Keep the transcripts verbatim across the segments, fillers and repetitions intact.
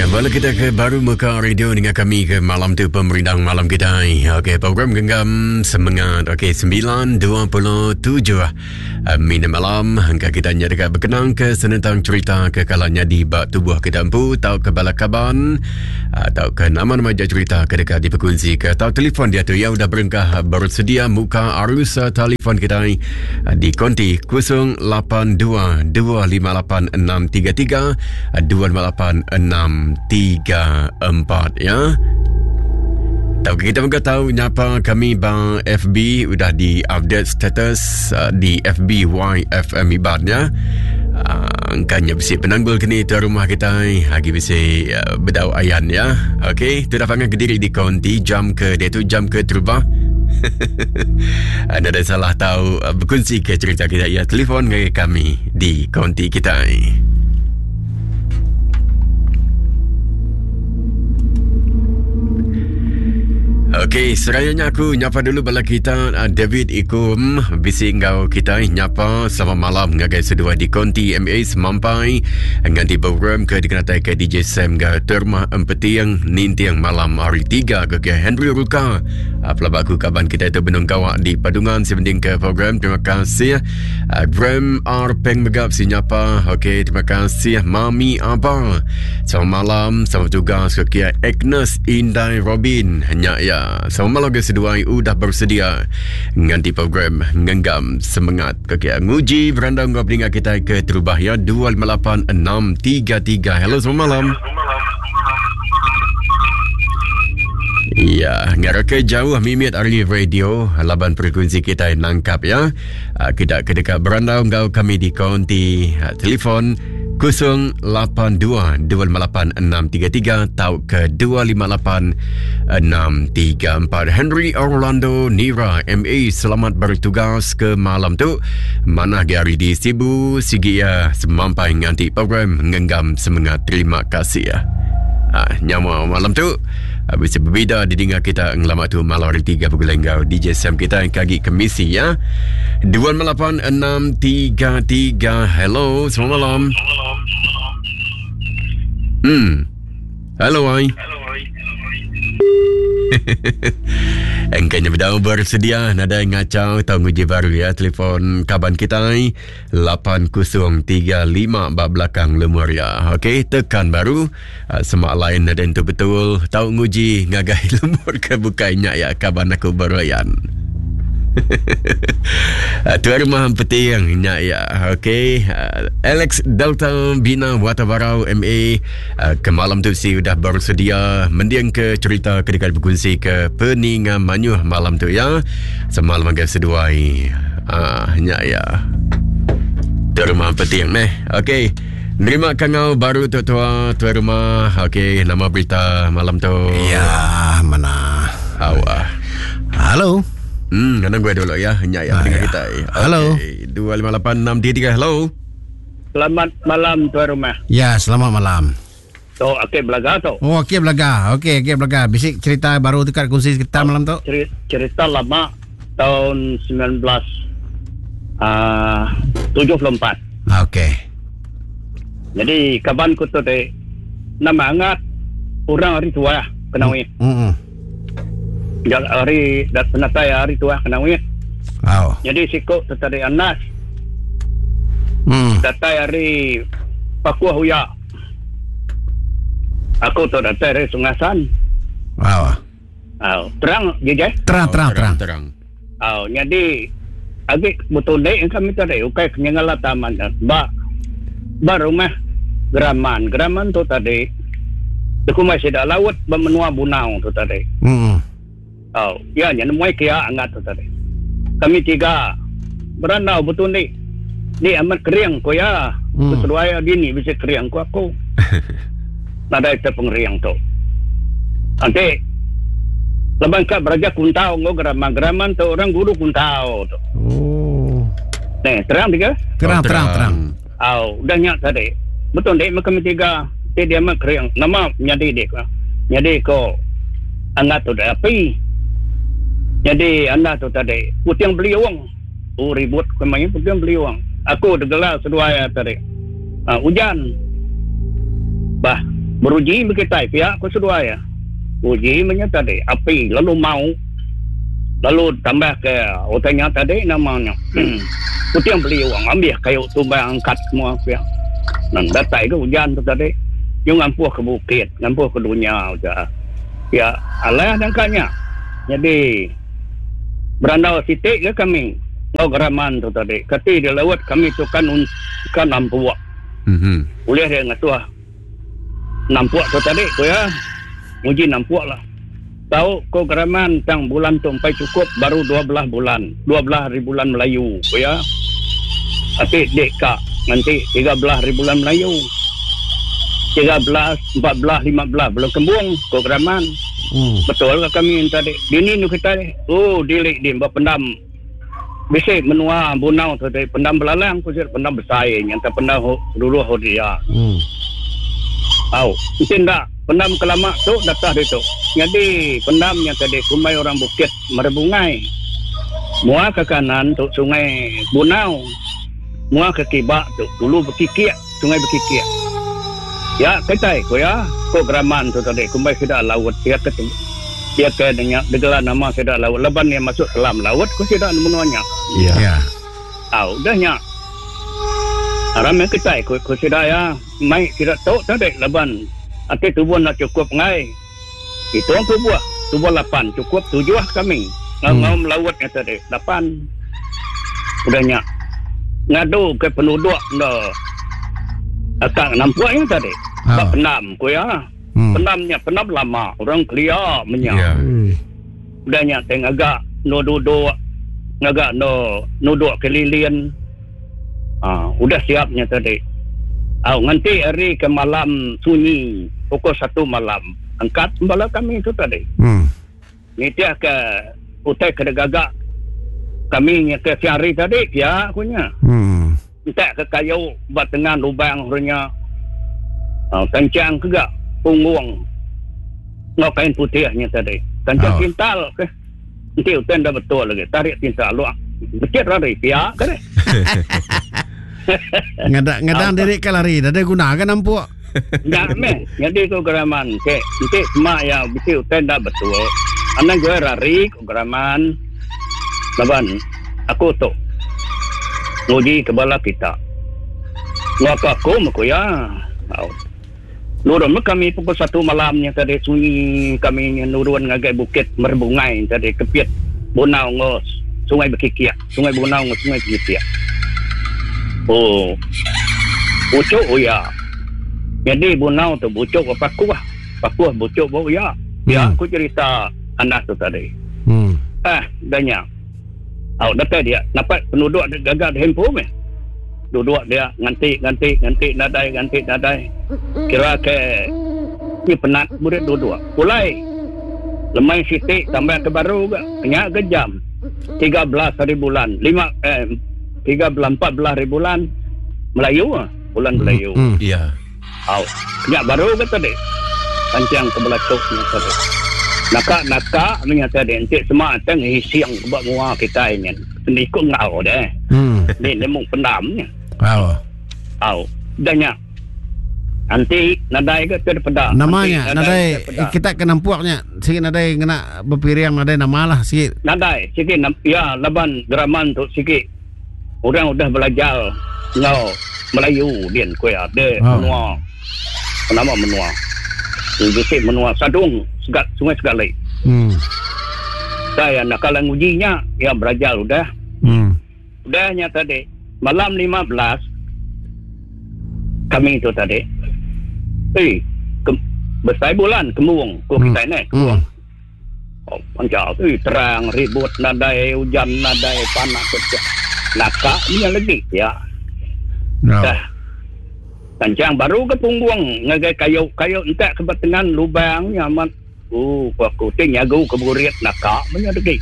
Okey, bala kita ke baru muka radio dengan kami ke malam tu pemerindang malam kita. Okey, program genggam semangat. Okey, sembilan dua puluh tujuh minit malam. Hingga kita nya dekat berkenang ke senentang cerita ke kalanya di bak tubuh kita empu tau ke bala kaban atau ke nama-nama cerita ke dekat diperkongsi ke atau telefon dia tu yang sudah berengkah bersedia muka arus telefon kita di konti kosong lapan dua dua lima lapan enam tiga tiga dua lima lapan enam tiga empat ya. Tahu kita juga tahu nyapa kami bang F B udah di update status uh, di F B Y F M Iban ya. Uh, kanya bisi penanggul kini tu rumah kita lagi bisi uh, bedau ayan ya. Okey, tu dah panggil kediri di konti jam ke dia tu jam ke terubah. Ada ada salah tahu uh, berkongsi ke cerita kita ya, telefon dengan kami di konti kita. Okey, serayanya aku nyapa dulu bala kita David Ikum bisi ngau kita nyapa selamat malam ngagai sedua di konti M A semampai nganti program ke dikenatai ke D J Sam ga terma empetiang nintiang malam hari tiga ke ke Henry Ruka. Pelaba aku kaban kita itu benung gawak di Padungan sebending ke program. Terima kasih Graham R Peng megap si nyapa. Okey, terima kasih Mami Abang. Selamat malam, selamat tugas ke kia Agnes Indai Robin. Hanya ya. Selamat malam ke seduai udah bersedia nganti program ngenggam semangat ke kia nguji berandang ngau peningat kita ke terubah ya dua lima lapan enam tiga tiga. Hello, selamat malam. Ya, ngarap ke jauh mimit ari radio laban frekuensi kita nangkap ya. Kita ke dekat berandau ngau kami di konti telefon kosong lapan dua dua lima lapan enam tiga tiga atau ke dua lima lapan enam tiga empat. Henry Orlando Nira M A selamat bertugas ke malam tu. Mana hari di Sibu sigi ya semampai nganti program ngenggam semangat. Terima kasih ya. Ah, nyawa malam tu bisa berbeza didengar kita ngelama tu malam hari tiga pukul enggau D J Sam kita yang kagi kemisi ya. dua lima lapan enam tiga tiga. Hello, selamat malam. Hmm. Hello, ai. Engkanya bedau bersedia nada ngacau tau nguji baru ya telefon kaban kita lapan kosong tiga lima bab belakang lemur ya. Okey, tekan baru semak lain ada itu betul tau nguji ngagai lemur ke bukainya ya kaban aku beroyan. Tuan rumah petiang nya ya. Okey, Alex Delta Bina Watabarau M A ke malam tu si sudah bersedia mendiang ke cerita ke dekat berkongsi ke peninga manyuh malam tu ya. Semalam agak seduai. Ah nya ya. Tuan rumah petiang neh. Okey. Nerima kangau baru tu tua tuan rumah. Okey, nama berita malam tu. Ya, mana? Awak. Halo. Hmm, kena gue dulu ya. Hanya ya, ah, ya. Kita. Halo. Okay. dua lima lapan enam tiga tiga. Hello. Selamat malam tuan rumah. Ya, selamat malam. Tu okey belaga tu. Oh, okey belaga. Okey, okey belaga. Bisik cerita baru tu kat kongsi kita malam tu. Cerita, cerita lama tahun sembilan belas tujuh puluh empat. Okey. Jadi kaban ku tu teh nama angat orang hari tua kenawi. Hmm. Jal hari dat penatai hari tua kenawi. Oh. Jadi siko tu tadi anas. Hmm. Datai hari Pakuah Huya. Aku tu datai hari Sungasan. Wow. Oh, terang je je. Terang, terang, oh, terang, terang. Terang. Oh, jadi agak betul dek kami tadi ukai kenyangala taman ba ba rumah Geraman. Geraman tu tadi deku masih dak laut bermenua Bunau tu tadi. Hmm. Oh, ya nya nemui kia angat tu tadi. Kami tiga berandau betul ni. Ni amat kering ko ya. Hmm. Sesuai dini bisa kering ko aku. Nadai terpengeriang tu. Nanti leban kat beraja kuntau ngo geraman-geraman tu orang guru kuntau tu. Oh. Nih, terang tiga? Terang, Oh, terang, terang. Oh, udah nyak tadi. Betul dek kami tiga. Dia dia amat kering. Nama nyadi dek. Nyadi ko angat tu dah api. Jadi anda tu tadi putiang beli wang. Oh ribut kemain putiang beli wang. Aku degelar seduai tadi. Ah, hujan. Bah. Beruji bekitai pihak ku seduai ya. Uji menya tadi api lalu mau lalu tambah ke utanya tadi namanya puting beliung ambil kayu tumbang angkat semua pihak. Dan datai ke hujan tu tadi yang ngampuh ke bukit, ngampuh ke dunia udah. Ya alah dangkanya. Jadi berandau sitik ke kami ngau geraman tu tadi. Kati di laut kami tu kan kan nampuak. Mhm. Boleh dia ngasuh nampuak tu tadi ko ya. Uji nampuak lah. Tahu ko geraman tang bulan tu empai cukup baru dua belas bulan. dua belas hari bulan Melayu ko ya. Tapi dek kak nanti tiga belas hari bulan Melayu. tiga belas, empat belas, lima belas belum kembung ko geraman. Hmm. Betul ke kami tadi? Dini nu kita ni. Oh, dilik di berpendam. Bisik menua bunau tu tadi pendam belalang ku sir pendam besar yang tak pendam dulu ho dia. Hmm. Au, mesti ndak pendam kelamak tu datah dia tu. Jadi pendamnya tadi kumai orang bukit merebungai. Mua ke kanan tu sungai Bunau. Mua ke kibak tu dulu berkikiak, sungai berkikiak. Ya, ketai ko ya, ko geraman tu tadi kumai sudah laut dia ke dia ke dengan gelar nama sudah laut leban yang masuk dalam laut ko sudah menuanya. Ya. Ya. Au, dah nya. Aram yang ketai ko ko sudah ya, mai tidak tahu tadi leban ati tubuh nak cukup ngai. Itu orang tubuh, tubuh lapan cukup tujuh kami. Ngau Hmm. ngau melautnya tadi lapan. Udah nya. Ngadu ke penduduk ndo. Akak nampaknya tadi. Ah. Bak pendam ko ya. Hmm. Pendamnya pendam lama orang kelia menya. Ya. Hmm. Udah nya teng agak no duduk ngagak no nuduk kelilin. Ah, udah siapnya tadi. Ah, nanti hari ke malam sunyi pukul satu malam angkat bala kami itu tadi. Hmm. Nitiah ke utai ke gagak kami nya ke siari tadi ya punya. Hmm. Entak ke kayu buat tengah lubang runya. Ah, kencang ke gak punggung. Ngau kain putihnya tadi. Kencang Oh. tintal ke. Nanti utai dah betul lagi. Tarik tintal luak. Becet lari pihak ke deh. Ngadak ngadang diri ke lari, dah ada guna kan nampuk. Enggak meh. Jadi ko geraman ke. Nanti semak ya bisi utai dah betul. Anak gue lari ko geraman. Laban aku tu nguji kebala kita. Ngak aku meko ya. Au. Nurun kami pukul satu malamnya tadi sunyi kami nurun ngagai bukit merbungai tadi kepit Bunau ngos sungai Bekikiak, sungai Bunau ngos sungai Bekikiak. Oh. Bucuk oh ya. Jadi Bunau tu bucuk ke pakuah. Pakuah bucuk bau ya. Ya Hmm. aku cerita anak tu tadi. Hmm. Ah, danya. Au datai dia dapat penduduk dia gagak di handphone meh. Duduk dia nganti nganti nganti nadai nganti nadai. Kira ke ni penat murid duduk. Pulai. Lemai sitik tambah ke baru ke. Kenyak ke jam tiga belas hari bulan, lima eh tiga belas empat belas hari bulan Melayu ah, bulan Melayu. Hmm. Ya. Au, kenyak baru ke tadi. Kancang ke belakangnya tadi. Nakak-nakak menyata tadi encik semak teng hisiang ke buat mua kita ini. Seni ikut ngau deh. Hmm. Ni nemu pendamnya. Wow. Au, dahnya. Nanti nadai ke terpeda. Namanya Nanti nadai terpeda. kita ke nampaknya sikit nadai kena berpiriang nadai nama lah sikit. Nadai sikit nam, ya laban geraman tu sikit. Orang udah belajar ngau Melayu din kuya de Oh. menua. Nama menua. Bisik menua Sadung segat sungai Segalik. Hmm. Saya nak kalau ngujinya ya belajar udah. Hmm. Udahnya tadi malam lima belas kami itu tadi. Eh, ke, besar bulan kemung ko Hmm. kita ni. Hmm. Oh, panjang. Eh, terang ribut nadai hujan nadai panas saja. Nakak ni yang lagi ya. No. Dah. Kancang baru ke punggung ngagai kayu kayu entak ke batengan lubang nyaman. Oh, aku ting nyagu ke burit nakak punya lagi.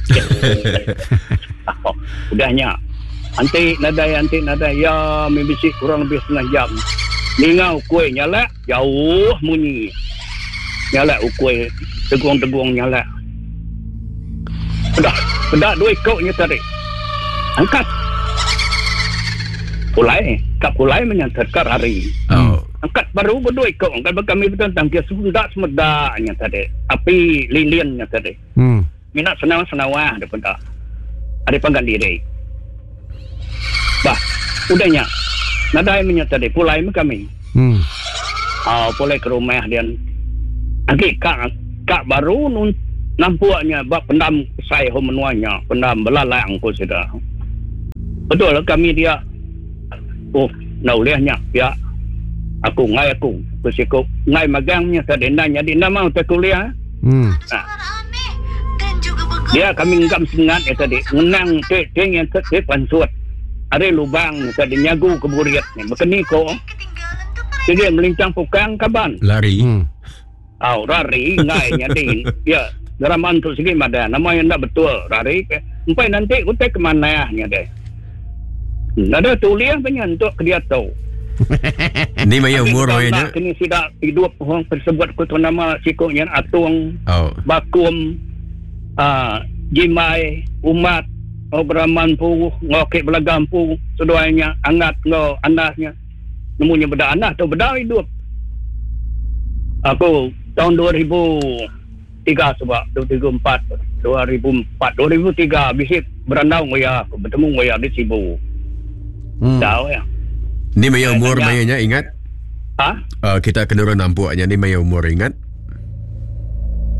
Oh, udahnya. Anti nadai anti nadai ya mibisi kurang lebih setengah jam. Ningau kuih nyalak jauh bunyi. Nyalak kuih tegung-tegung nyalak. Pedak, pedak dua ikutnya tadi. Angkat. Pulai, kat pulai menyantar hari. Oh. Angkat baru berdua ikut. Angkat kami bertentang dia semendak semedaknya tadi. Api lilinnya tadi. Hmm. Minat senawah-senawah dia pun tak. Ada panggan diri. Bah, udahnya. Nadai minyak tadi pulai me kami. Hmm. Ah, pulai ke rumah dia. Agi kak kak baru nun nampaknya bab pendam saya ho menuanya, pendam belalang ko sudah. Betul lah kami dia. Oh, nak ulehnya ya. Aku ngai aku kusiko ngai magangnya tadi nanya di nama tak kuliah. Hmm. Ha. Dia kami ngam sengat ya tadi ngenang te te yang te te pansut. Ada lubang tadi nyagu ke buriat ni. Bekeni ko. Jadi melincang pukang kaban. Lari. Hmm. Au rari ngai nyadi. Ya, deraman tu segi mada nama yang tak betul rari. Empai nanti utai ke mana nya deh. Nada tuliah punya untuk ke dia tahu. Ni maya umur maya kini tidak hidup orang tersebut ku tu nama sikoknya Atung, oh. Bakum, uh, Jimai, Umat, Obraman pu, ngokek belagam pu, seduainya angat ngau anasnya. Nemunya beda anas tu beda hidup. Aku tahun dua ribu tiga sebab dua ribu empat, dua ribu empat, dua ribu tiga bisik berandau ngoya aku bertemu ngoya di Sibu. Hmm. Tahu ya. Ni maya umur mayanya ingat? Ha? Uh, kita kena orang nampaknya ni maya umur ingat?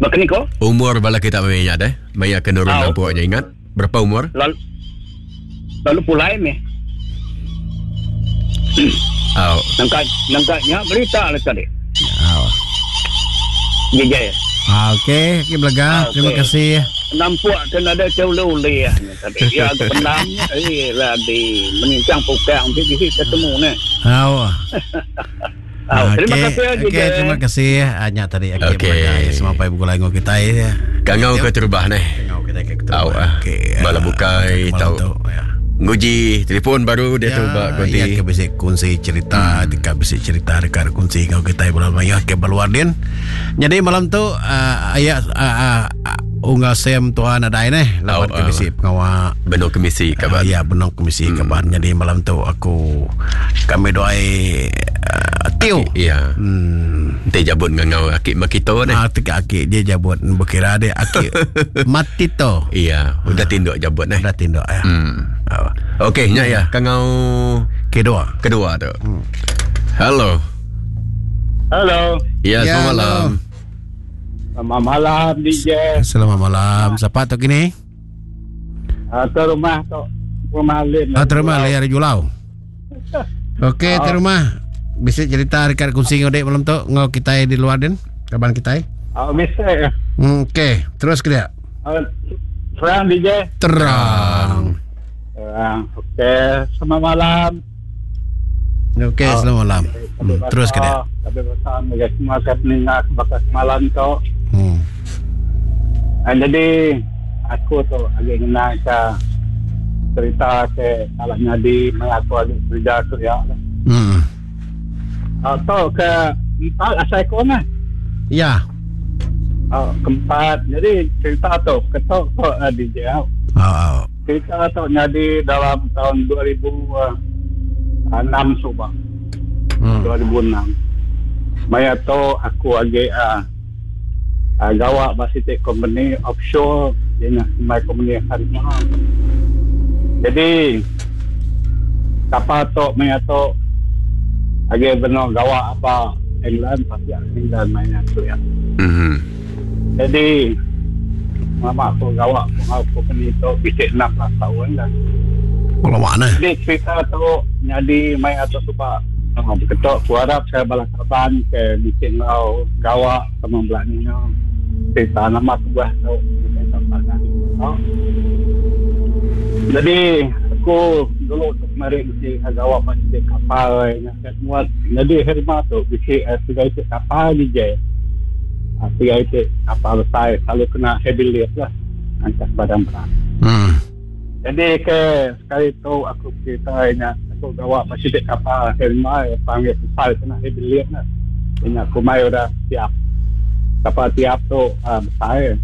Bakni ko? Umur bala kita maya deh. Maya kena orang nampaknya ingat? Berapa umur? Lalu lalu pulai me. Oh. Nangka nangkanya berita lah tadi. Oh. Jejai. Ah, okey, okey belaga. Ah, okay. Terima kasih. Nampak kena ada jauh leh tadi. Ya aku pendam eh lah di menincang pukang di ketemu ni. Oh. Ah, terima kasih okey, terima kasih hanya tadi okey okay. belaga semua pai buku lain kita ya. Kangau ke terbah ni. Kangau kita ke terbah. Okey. Bala bukai tahu. Nguji telefon baru dia ya, tu bak konti. Ya ke bisi kongsi cerita, hmm. dekat bisi cerita dekat kongsi ngau kita bulan maya ke baluardin. Jadi malam tu uh, ayat uh, uh, unggal sem tuan ada ni lawan oh, ke bisi uh, pengawal benar komisi kabar. Uh, ya benar komisi hmm. kabar. Jadi malam tu aku kami doai uh, Tio. Ya. Hmm. Dia jabut ngau akik makito ni. Ah tekak akik dia jabut berkira dia akik matito. Iya, udah tinduk jabut ni. Udah tinduk ya. Hmm. Okey, nya ya, kangau kedua. Kedua tu. Hmm. Halo. Halo. Ya, ya selamat malam. Selamat malam D J. Selamat malam. Siapa tu kini? Ah, tu rumah tu. Rumah Lim. Ah, tu rumah Lim dari Julau. Okey, tu rumah. Bisa cerita dekat kongsi ngau dek malam tu ngau kita di luar den, kaban kita. Ah, bisa. Hmm, okey, terus ke dia. Uh, terang D J. Terang. Terang. Okey, selamat malam. Okey, oh, selamat malam. Hmm, terus ke dia. Tapi bersama guys semua kat ninga bakas malam tu. Hmm. Ah, jadi aku tu agak ngena ke cerita ke salah nyadi mai aku agak kerja tu ya. Hmm. Atau ke empat asal kau mah. Ya. Oh, keempat. Jadi cerita tu ketok tu uh, D J. Oh, oh. Cerita tu jadi dalam tahun dua ribu enam subah. Hmm. dua ribu enam. Maya tu aku agak uh, uh, gawak basitik company offshore dia nak my company harimau. Jadi kapal tu maya tu agak benar gawak apa England pasti England mainnya tu ya. Mm-hmm. Jadi mama aku gawak aku company tu bisik enam belas tahun dah. Kalau mana? Jadi cerita tu jadi main atau sebab oh, ketok aku harap saya balas kaban ke bisik ngau gawak sama belakangnya. Cerita nama sebuah tu kita tak tahu. Jadi aku dulu tu kemarin mesti gawak masih kapal yang semua. Jadi herma tu bisi tiga itu kapal ni je. Tiga itu kapal besar selalu kena heavy lift lah angkat barang berat. Hmm. Jadi ke sekali tu aku cerita nya aku gawak masih kapal herma panggil besar kena heavy lift lah. Ini aku mai dah siap. Kapal tiap tu uh, besar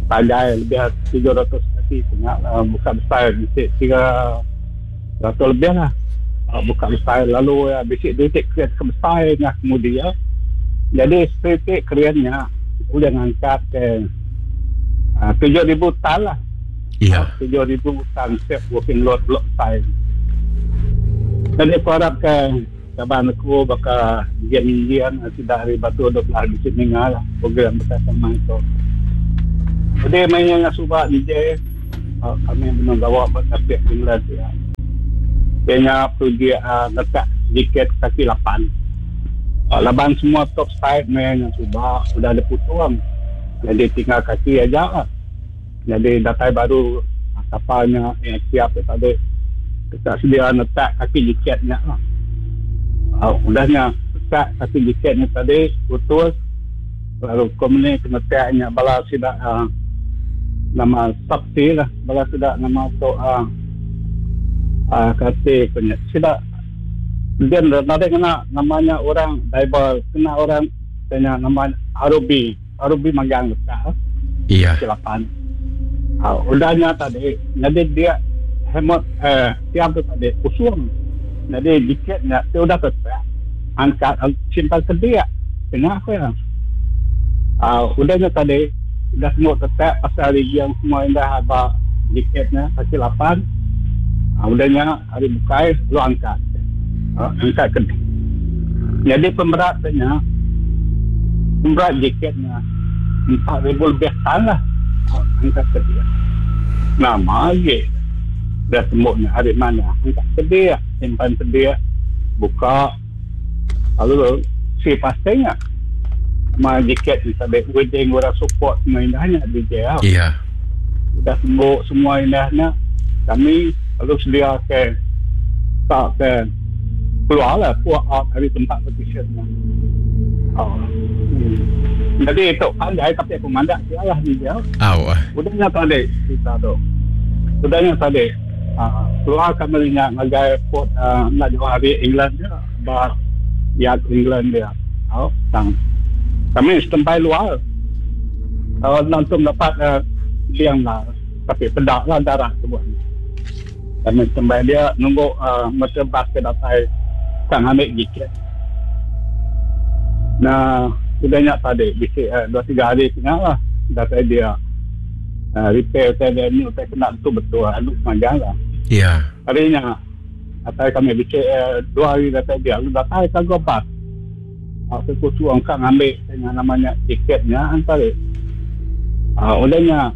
panjang lebih tiga ratus kaki kena uh, bukan besar mesti tiga ratus lebih lah Uh, buka besai lalu uh, bisik detik keren ke besai ngah kemudian. Jadi setik kerennya udah ngangkat ke uh, tujuh ribu tan lah. Ya. Tujuh ribu tan siap working load blok size. Jadi aku harap ke kaban aku bakal gian-gian sudah hari batu dua belas bisik meninggal lah program bersama itu. Jadi mainnya dengan subak D J, uh, kami belum bawa bertapik England ya. Kayaknya pergi uh, letak jaket kaki lapan. Uh, laban semua top side main yang subak sudah ada putuang. Jadi tinggal kaki aja lah. Jadi datai baru uh, kapalnya yang siap tadi. Kita sedia letak kaki jaketnya lah. Uh, udahnya letak kaki jaketnya tadi putus. Lalu komuni kena letaknya bala sidak uh, nama sabti lah, bala sidak nama tu uh, uh, kati punya sidak dia nanti kena namanya orang diver, kena orang tanya nama Arubi, Arubi magang letak. Iya. Silapan. Uh, udahnya tadi, jadi dia hemat eh tiap tu tadi usung. Jadi dikitnya dia udah tetap angkat simpan ke dia. Kena aku ya. Uh, udahnya tadi udah semua tetap pasal hari yang semua indah aba dikitnya kaki lapan. Uh, udahnya hari bukai lu angkat. Uh, angkat ke dia. Jadi pemberatnya pemberat dikitnya empat ribu lebih tan lah uh, angkat ke dia. Nama lagi dah temboknya hari mana angkat ke dia, simpan ke dia, buka lalu si pastinya ma jaket ni sampai wedding orang support semua indahnya D J lah. Iya. Udah tembok semua indahnya kami lalu sedia ke tak ke keluar lah puak out dari tempat petitionnya. Oh. Hmm. Jadi itu pandai tapi aku mandak dia lah D J. Oh. Udahnya tadi kita tu. Udahnya tadi uh, keluar kami nya ngagai port uh, nak jauh hari England dia bar yard England dia. Oh, tang. Kami setempai luar. Kalau langsung dapat uh, siang lah. Tapi pedak lah darah tu buat. Kami setempai dia nunggu uh, motor bas ke datai sang ambil jaket. Nah, udahnya tadi bisik uh, dua tiga hari tengah lah datai dia uh, repair saya ni saya kena tu betul anu panjang lah. Ya. Harinya datai kami bisik uh, dua hari datai dia lalu datai kagak bas. Aku suruh angkat ambil dengan namanya tiketnya antara. Ah, udahnya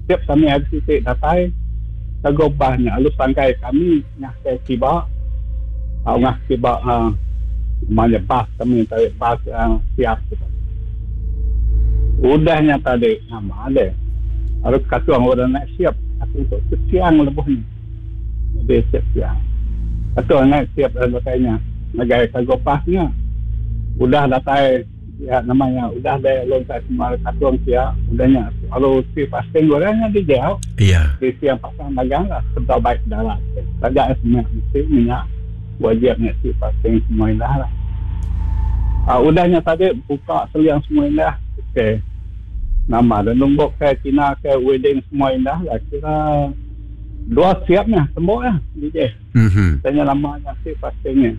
tiap kami hari titik datai kagobahnya lalu sangkai kami ngah ke tiba. Ah, ngah tiba ah namanya bas kami tarik bas ah, siap. Udahnya tadi nama ada. Harus kata orang nak siap aku untuk siang lebuh ni. Jadi siap siang. Kata nak siap dan sebagainya. Ngagai kagobahnya. Udah datai ya namanya udah ada lontar semua katung sia udahnya kalau si pasting orangnya di jauh. Iya. Di siang pasang dagang lah sebab baik darat saja semua mesti minyak wajib si pasting semua indah lah. Ah, udahnya tadi buka seliang semua indah. Okey. Nama dan nombok ke Cina ke wedding semua indah lah kira dua siapnya temboknya D J. Mhm. Tanya namanya si pastingnya.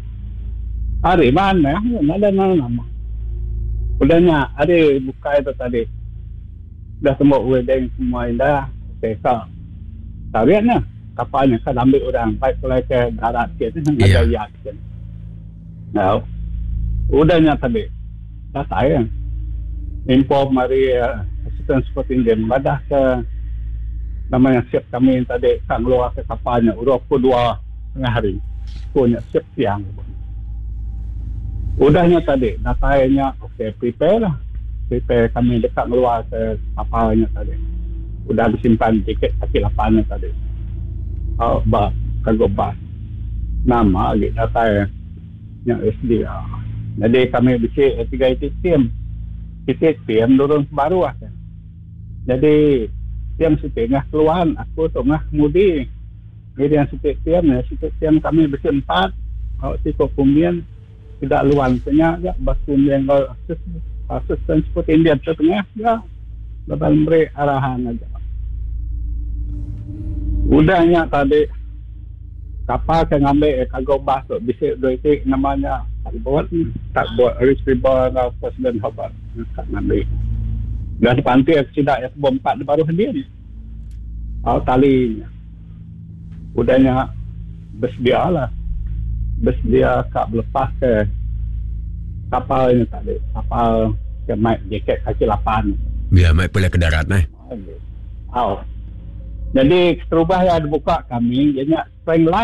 Hari mana? Ada nama. Udahnya hari buka itu tadi. Dah tembok wedding semua indah. Okey, kak. Tariknya kapalnya kan ambil orang baik mulai ke darat ke Ya. ada yacht ke. Nah, udahnya tadi. Dah saya inform mari uh, assistant superintendent madah ke namanya siap kami tadi kan keluar ke kapalnya urut pukul dua tengah hari. Punya siap siang. Udahnya tadi, datainya okey, prepare lah. Prepare kami dekat keluar ke kapalnya tadi. Udah disimpan tiket kaki lapannya tadi. Oh, ba, kargo bas. Nama lagi datai yang S D. Jadi kami bisik tiga itik tim. Itik tim turun baru lah. Jadi tiam sitik ngah keluar, aku tu ngah mudi. Jadi yang sitik tiam, ya, sitik tiam kami bisik empat. Awak sikok kumian tidak luan punya ya batu yang kalau asisten seperti India tengah ya bakal beri arahan aja. Udahnya tadi Kapal ke ngambil kargo bas tu bisi dua iti namanya tugboat, tugboat Rich River enggau President Hobart ka ngambil. Udah dipantik sida iya ke empat di baruh din. Au tali nya. Udah nya bersedia lah. Bersedia ka belepas ke kapal nya tadi. Kapal ke mai jaket kaki lapan. Ya, mai pulai ke darat eh. Au. Jadi keterubah yang dibuka kami ianya spring light.